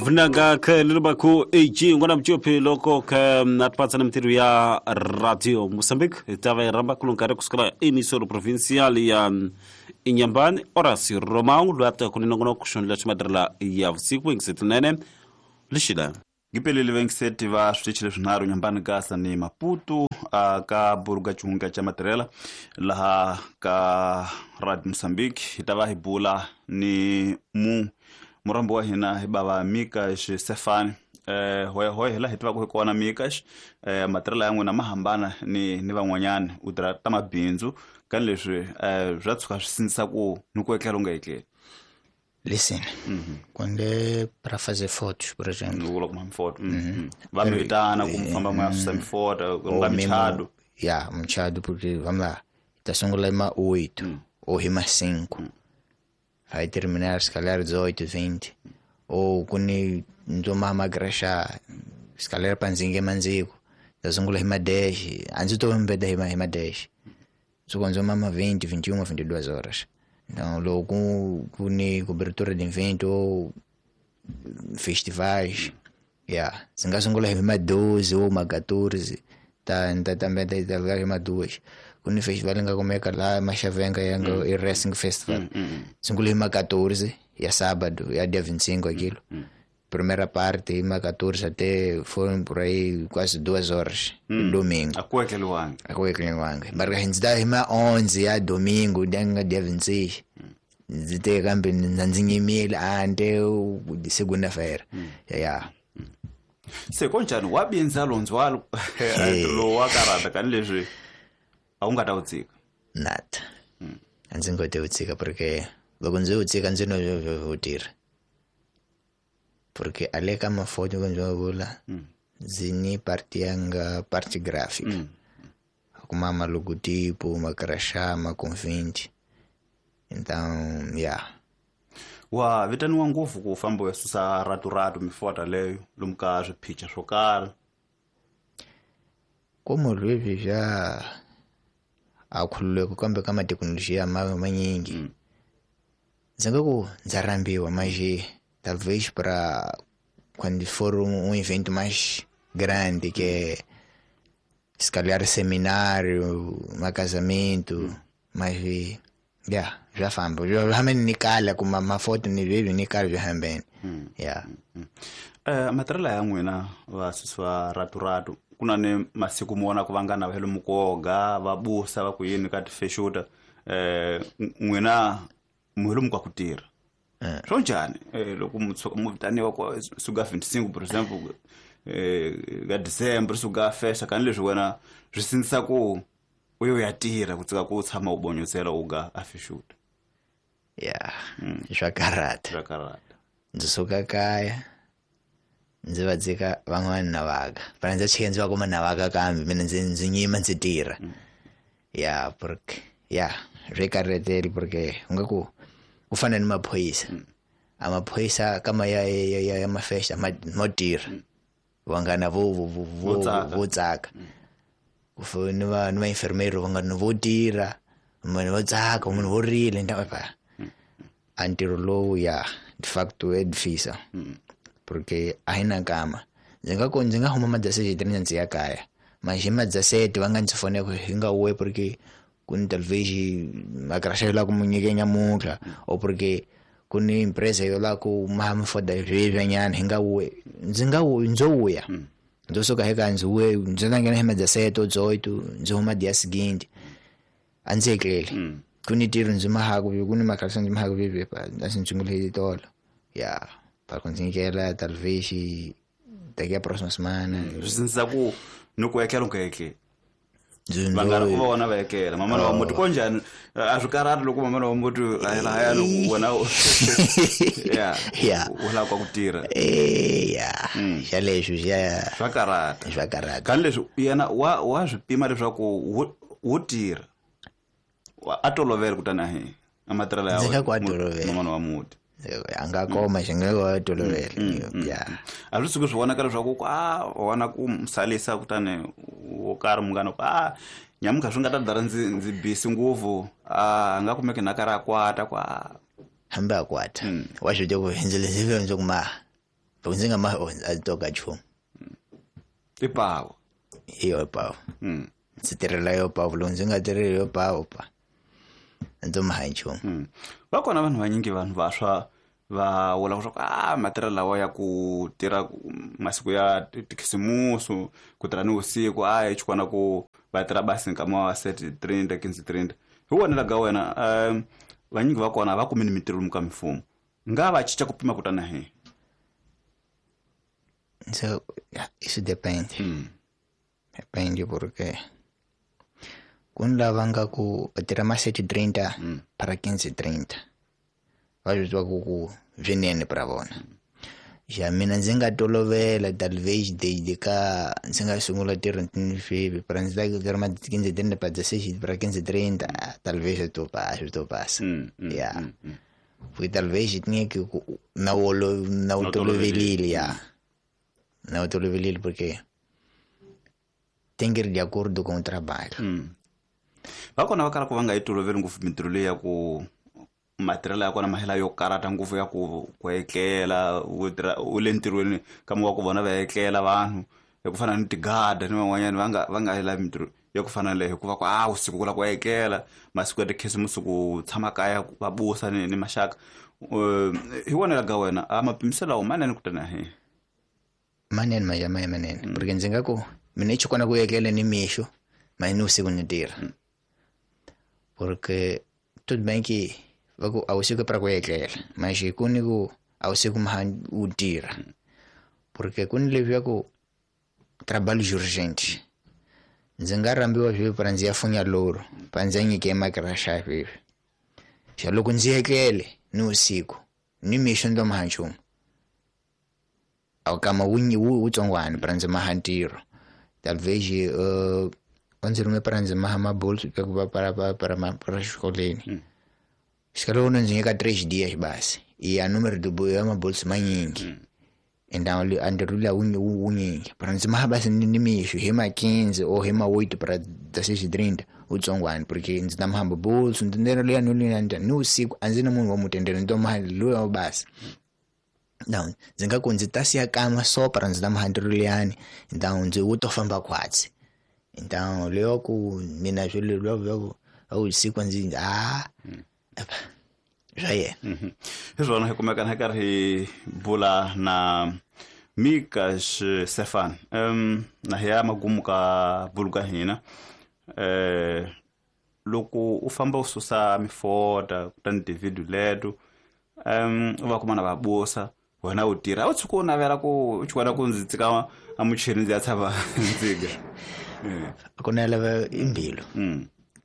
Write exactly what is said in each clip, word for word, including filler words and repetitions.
Vunanga ke lulubaku A G ngwana mchope loko ke natpatsa na mtiru ya Radio Mozambique tava ramba kulunkare kusukela emisoro provincial ya Inhambane Horacio Romão lwata kuninongono kushonela chimadrala ya usiku ingisetunene lishila Gipelele vengiseti va switichi leswinharhu Inhambane Gasa ni Maputo ka Buruga Chunga cha Matirela laha ka Radio Mozambique hitava hi bula ni mu murambo wa hina hi bava Mikash Sefani eh hoy hoy hela hi tiva ku hi kona Mikash eh matirela ya n'wina ma hambana ni ni van'wanyana u tirha ta mabindzu ka leswi eh swa tshuka swi sindzisa ku ni ku etlela u nga etleli. Listen, mm-hmm. Quando é para fazer fotos, por exemplo. Va mi vitana ku famba mo ya susa mifoto, ku mchado. Yeah, mchado porque vamos lá. Tá sungula ima oito mm. ou ima cinco. Mm. Vai terminar se calhar dezoito, vinte. Ou quando ndoma magrasha, se calhar panzingue manzico. Tá sungula ima dez, antes tô mbeda ima ima dez. Só quando mama vinte, vinte e uma, vinte e duas horas. Então, logo com, com cobertura de evento ou festivais, yeah. Se não são uma doze ou uma quatorze, tá, tá também tá tá uma duas. Quando o festival nga começa lá, Machavenga e Racing Festival. Se não uma quatorze, e é sábado, é dia vinte e cinco aquilo. Primeira parte, uma quatorze até foram por aí quase duas horas, hum. Domingo. A cueca luanga. A cueca luanga. Mas a gente dá uma onze, é domingo, dia vinte e seis. Zite kambe nanzinye ante segunda-feira. Hum. Yeah. Se konjani wabinza lonzwalo lo wakarata kanilezwi a wu nga ta wu tshika. Nada. Hmm. A ndzi nga ta wu tshika porque loko ndzi wu tshika ndzi no wu tirha. Porque ali ka mafoto quando eu vou lá, zini parte anga parte gráfica. Mm. Kuma uma logotipo, uma crachá, uma convite. Então, yeah. Wa vitaniwa ngopfu ku famba u susa ratu-ratu mifoto leyo lomu ka swiphicha swo karhi. Como leswi já a khululeko kambe ka mathekinoloji ma manyingi. Mm. Ndzi nga ku ndza rambiwa mas talvez para quando for um, um evento mais grande, que é se calhar seminário, um casamento, hum. Mas yeah, já famba. Já realmente ni kala kuma mafoto ni vivi ni kala já hambeni. Yeah. Eh matirela ya n'wina va suswa ratu-ratu ku na ni masiku mo vona ku vangana va hele mukoga va busa va ku yini ka tifexuta eh n'wina muhelo mukwa ku tirha. Swo njhani loko mu vitaniwa ku suka vinte e cinco por exemplo eh ka December suka festa kan leswi wena swi sindzisa ku u yo ya tirha ku tsika ku tshama u bonyosela u ga a fexuta. Yeah. Swa karata. Swa karata. Ndzi suka kaya ndzi va dzika van'wana na vaka. Fana ndzi chika ndzi va kuma na vaka kambe mina ndzi ndzi nyima ndzi tirha. Yeah, porque yeah, swi karhateli porque u nga ku ku fana ni maphorisa. A maphorisa kama ya ya ya ya mafesta ma mo tirha. Vangana vo vo vo vo tsaka. Ku fana ni va ni va enfermeiro vangana vo tirha, munhu vo tsaka, munhu vo rila nda pa. A ntirho lowu ya de facto é difícil. Porque a hi na nkama. Ndzi nga ku ndzi nga huma madzasete ni ndzi ya kaya. Mas hi madzasete va nga ndzi fonela ku hi nga we porque ku ni talvez makrasha yo la ku mu nyike nyamuntlha ou porque ku ni empresa yo la ku ma foda sweswinyana hi nga we ndzi nga ndzo wuya. Ndzo suka hi ka ndzi we ndzi nga nghena hi madzasete ou dezoito ndzi huma dia seguinte. A ndzi etleli. Ku ni ntirho ndzi mahaku ku ni makrasha ndzi mahaku vivi a ndzi sungule hi tolo. Yeah. Para conseguir talvez daqui a próxima semana. Swi sindzisa ku ni ku etlela u nga etleli. Vangana ku va vona va etlela. Mamana wa muti konjhani a swi karhati loko mamana wa muti a lahaya loko wena yeah yeah u lava ku tirha. Eh yeah. Xa leswi xa swa karhata. Swa karhata. Kan leswi yena wa wa swi pima leswaku wo tirha. A tolovela kutani a hi a matirhelo ya Ndzi nga ku a tolovela. mamana wa muti. A nga koma xi nga ku tolovela. Yeah. A swi suki swi vonaka leswaku ku a vona ku musalisa kutani wo karhi munghana ku a nyamuntlha swi nga ta dara ndzi ndzi busy ngopfu a nga kumeki na karhi a kwata ku a hambi a kwata. Wa swi tiva ku ndzi leswi ndzi ku ma Loko ndzi nga ma a toka nchumu. I pawu. Hi yo pawu. Ndzi tirhela yo pawu, loko ndzi nga tirheli yo pawu pa a ndzi maha nchumu. Va kona vanhu vanyingi vanhu vantshwa va vula leswaku a matirhelo lawa ya ku tirha masiku ya tikhisimusi ku tirha ni vusiku a hi xikona ku va tirha basi nkama wa seti trinta quinze trinta. Hi vonela ka wena um vanyingi va kona va kumi ni mintirho lomu ka mimfumo nga va cinca ku pima kutana hi So, yeah, isso depende. Mm. Depende porque ku ni lava nga ku va tirha ma sete trinta Mm. para quinze trinta. Va swi tiva ku ku swinene para vona. Xa mina ndzi nga tolovela talvez desde ka ndzi nga sungula ntirho sweswi para ndzi ta tirha ma quinze trinta para dezesseis para quinze trinta, talvez swi to pasa, swi to pasa. Mm, mm, Yeah. mm, mm. Porque talvez tinha que na wu na wu Na wu tolovelile ya. Na wu tolovelile porque tem que ir de acordo com o trabalho. Mm. Va kona va kala ku va nga yi toloveli ngopfu mintirho leyi ya ku matirhelo ya kona mahela yo karata ngopfu ya ku ku etlela u tirha u le ntirhweni kama wa ku vona va etlela vanhu ya ku fana ni tigada ni van'wanyana va nga va nga yi lavi mintirho ya ku fana na leyo hikuva ku a vusiku ku lava ku etlela masiku ya tikhisimusi ku tshama kaya va busa ni ni maxaka. Hi vonela ka wena a mapimiselo lawa manene kutani hi Manene ma ya manene porque ndzi nga ku mina i xikona ku etlela ni mixo mas ni vusiku ni tirha. Porque tudo bem que va ku a vusiku para ku etlela mas ku ni ku a vusiku ma u tirha. Porque ku ni leswiya ku trabalho urgente. Ndzi nga rhambiwa sweswi para ndzi ya funya loro pa ndzi ya nyike makirasha sweswi. Xa loko ndzi etlele ni vusiku ni mixo ni to maha nchumu. A kama wu wu wutsongwana para ndzi maha ntirho. Talvez uh, va ndzi rhume para ndzi maha mabolso ku va para para para para xikolweni. Xikalo ndzi nyika três dias basi. E a número do ya mabolso manyingi. Então a ntirho luya wu wunyingi. Para ndzi maha basi ni mixo hi ma quinze ou hi ma oito para dezesseis trinta wutsongwana porque ndzi ta maha mabolso ndzi ndlela luya ni luya ni vusiku a ndzi na munhu wa mutendelo ni to maha luya basi. Não, ndzi nga ku ndzi ta siya kama só para ndzi ta maha ntirho luyani então ndzi wu to famba khwatsi. Então leyo ku mina swilo lwa lwa a vusiku ndzi ah swa yena. Hi swona hi kumeka hi karhi hi bula na Micas Stefan um na hi ya magumu ka bulu ka hina eh loko u famba u susa mifota kutani tividiyo leto um u va kuma na va busa wena u tirha u tshuka u navela ku u chukana ku ndzi tsika a muchini ndzi ya tshama ndziga. Ku navela i mbilu.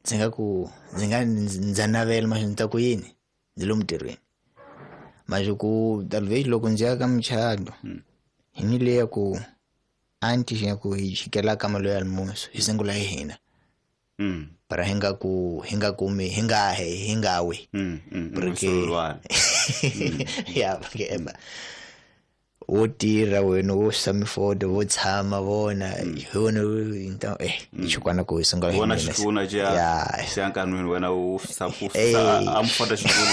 Ndzi nga ku ndzi nga ndza navela mas ndzi ta ku yini ndzi lomu ntirhweni. Mas ku talvez loko ndzi ya ka muchato hi ni leya ku antes ya ku hi xikela ka mali ya almoço hi sungula hi hina. Para hi nga ku hi nga kumi hi nga he hi nga wi. Porque ya porque eba wo tirha wena wo susa mifoto wo tshama vona hi wona então eh xikwana ku hi sungula hi Vona mina. xitulu xa Ya. xa nkanwini wena u susa ku Eh. susa a mufota xitulu.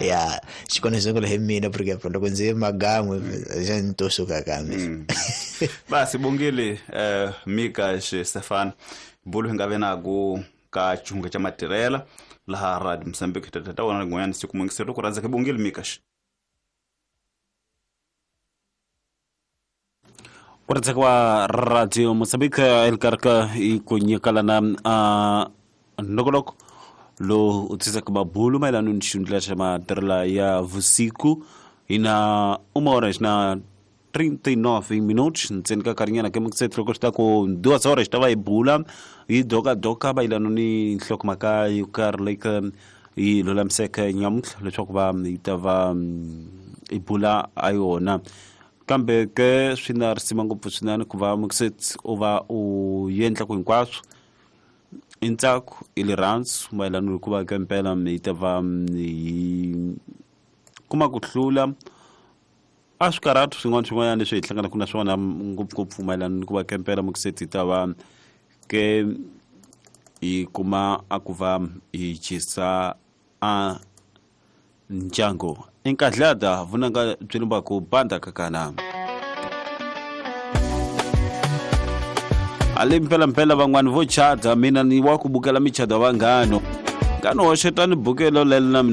Ya xikwana hi sungula hi mina porque loko ndzi ye magan'we xa ni to suka kambe. Basi bongile eh Micas Stefan bulu hi nga ve na ku ka xihunga xa matirhela laha Radio Mozambique ta ta wona rin'wanyana siku mungiselo ku rhandza ke bongile Micas. Ku rhandza wa Radio Mozambique exikarhi ka i ku nyikalana a nongonoko lowu u tisaka mabulu mayelana ni xihundla xa matirhela ya vusiku hi na uma horas na trinta e nove minutos ntsena ka nkarhinyana ke mukiseti loko swi ta ku duas horas ta va hi bula hi dokadoka mayelana ni nhlokomhaka yo karhi leyi ka yi lulamiseke nyamuntlha leswaku va yi ta va hi bula a yona. Kambe ke swi na risima ngopfu swinene ku va mukiseti u va u endla ku hinkwaswo i ntsako i rirhandzu mayelana ni ku va ka mpela hi ta va hi kuma ku hlula a swikarhatu swin'wana swin'wanyana leswi hi hlanganaka na swona ngopfungopfu mayelana ni ku va ka mpela mukiseti hi ta va ke hi kuma a ku va hi chisa a Ndyangu inkadlada vunanga byi ku banda kakana ali mpela mpela van'wani vo chata mina ni wa ku bukela michado ya vanghano ngano hoxetani bukelo lela na mina.